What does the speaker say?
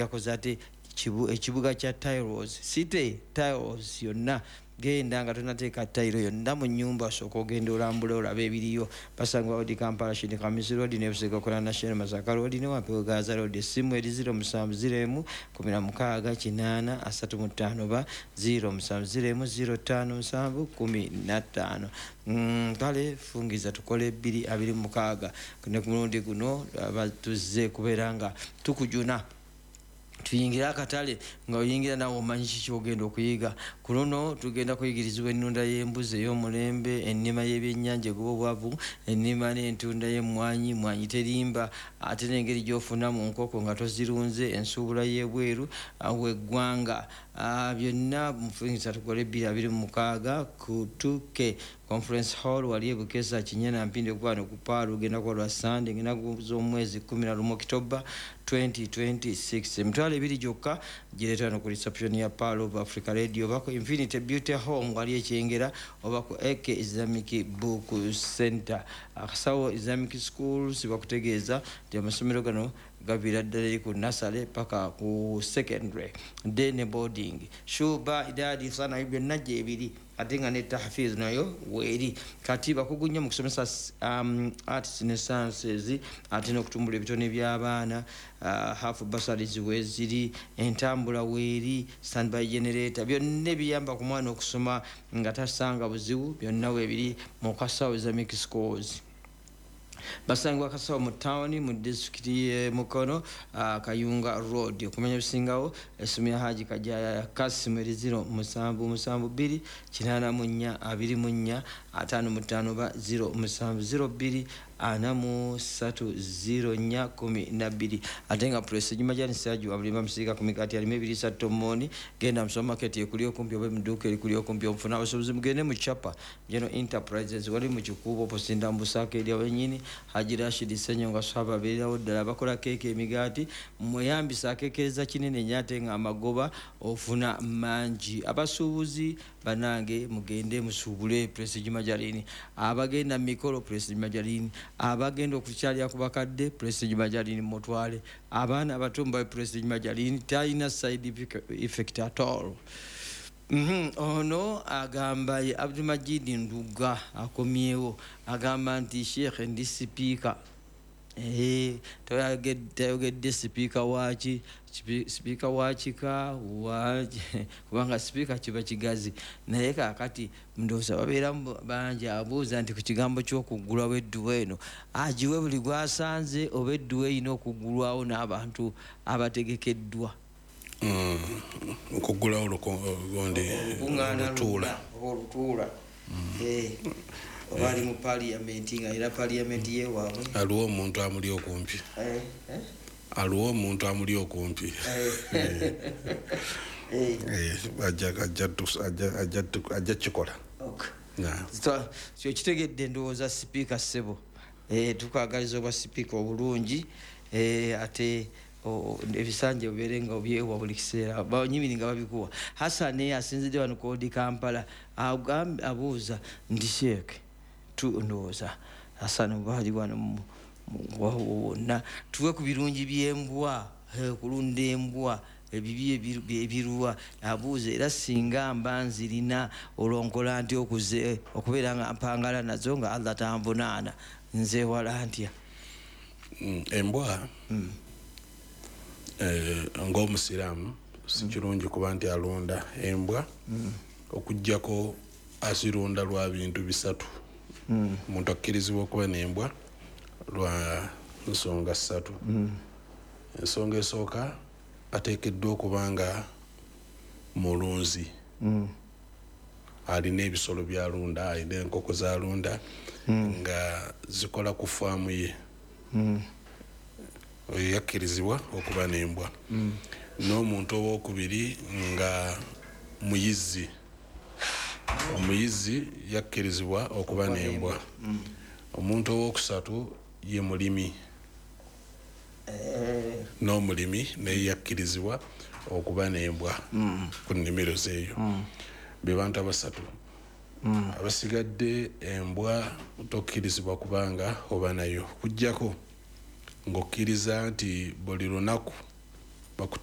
Yakoze ate ekibuga kya tiles, city tiles yonna. Genda nga tonateeka tayiro yonna mu nyumba, sooka ogenda olambula olabe ebiriyo. Basangibwa Odi Kampala, Shindi Kamisi Road ne Busega Kola National Masaka Road ne Wampewo Gaza Road. Essimu eri 0701 16 80 35 ba 0701 05 7 15. Kale fungiza tukole 226. Ne ku mulundi guno tuzze kubeera nga tukujuna tuyingire akatale, nga oyingira nawe omanyi kiki ogenda okuyiga. Ku luno tugenda kuyigirizibwa ennunda y'embuzi ey'omulembe, ennima y'ebyennyanja egoba obwavu, ennima n'entunda y'emmwanyi, mwanyi terimba, ate n'engeri gy'ofuna mu nkoko nga tozirunze, ensuubula y'ebweru w'eggwanga. Byonna mufungiza tukole 226 ku 2K Conference Hall wali ebukesa Kinyana Mpindi okuba ku Paalu. Ogenda kuba lwa Sande ngena z'omwezi 11 Okitoba 2026, 20,000 gyokka. Gireeta no ku reception ya Pearl of Africa Radio oba ku Infinity Beauty Home wali Ekyengera oba ku AK Islamic Book Center. Akasawo Islamic Schools bakutegeeza nti amasomero gano gaviira ddala eri ku nursery paka ku secondary, day ne boarding, shuba, idadi sana, byonna gyebiri, ate nga ne tahfiz nayo weeri. Kati bakugu nnyo mu kusomesa arts ne sciences, ate n'okutumbula ebitone by'abaana. Half bursaries weeziri, entambula weeri, standby generator, byonna ebiyamba ku mwana okusoma nga tasanga buzibu, byonna weebiri mu Kasawo Islamic Schools. Basangibwa Kasawo mu tawuni mu disitulikiti ye Mukono, Kayunga Road. Okumanya ebisingawo, essimu ya Haji Kajaya Kasimu eri 0772 84 24 55 ba 0702 43 04 12. Ate nga Prestige Majani Saju abulimba musiika ku mikati alimu ebiriisa tomoni. Genda mu supermarket ekuli okumpi oba emuduuka erikuli okumpi omufuna. Abasuubuzi mugende mu Chapa General Enterprises wali mu Kikuubo posinda mu Busaaka eri wenyini. Haji Rashid Senyonga Swaba abeererawo ddala. Bakola keeke, emigaati, mweyambisa akekereza kinene nnyo ate nga amagoba ofuna mangi. Abasuubuzi banange, mugende musuubule Prestige Majalini. Abagenda mu mikolo, Prestige Majalini. Abagenda okukyalira ku bakadde, Prestige Majalini. Mutwale abaana abato mubawe Prestige Majalini, talina side effect at all. Ono agamba ye Abdulmajid Nduga akomyewo, agamba nti, "Sheekh, ndi sipiika." Tayogedde sipiika waki, sipiika wa kika kubanga sipiika kiba kigazi, naye kakati ndowooza babeeramu bangi. Abuuza nti ku kigambo ky'okuggulwawo edduwa eno, agiwe buli gwasanze oba edduwa erina okuggulwawo n'abantu abategekeddwa? Okuggulawo gundi olutuula oba olutuula, oba ali mu paliyamenti nga era paliyamenti yewaabwe. Aliwo omuntu amuli okumpi, aliwo omuntu amuli okumpi, ajja kikola. Kyokitegedde ndowooza. Sipiika ssebo, tukwagaliza obwa sipiika obulungi, ate ebisanja obeere nga obyewa buli kiseera, banyimiri nga babikuwa. Hasani asinzidde wano kodi Kampala, abuuza nti, "Sheeke," ndowooza Hasani oba ali wano wonna, "tuwe ku birungi by'embwa, kulunda embwa, ebibi ebiruwa?" Abuuza era, "Singa mba nzirina, olwonkola nti okuze okubeera nga mpangala nazo nga Allah tanvunaana, nzewala ntya?" Embwa, ng'omusiraamu si kirungi kuba nti alunda embwa, okugjako azirunda lwa bintu bisatu. Omuntu akkirizibwa okuba n'embwa lwa nsonga ssatu. Ensonga esooka, ateekeddwa okuba nga mulunzi, alina ebisolo byalunda, alina enkoko zalunda nga zikola ku faamu ye. Oyo yakkirizibwa okuba n'embwa. N'omuntu owokubiri nga muyizzi, omuyizzi yakkirizibwa okuba n'embwa. Omuntu owokusatu ye mulimi, n'omulimi naye yakkirizibwa okuba n'embwa ku nnimiro zeeyo. Be bantu abasatu. Abasigadde embwa tokkirizibwa kubanga oba nayo, kujjako ng'okkiriza nti buli lunaku Bakutema.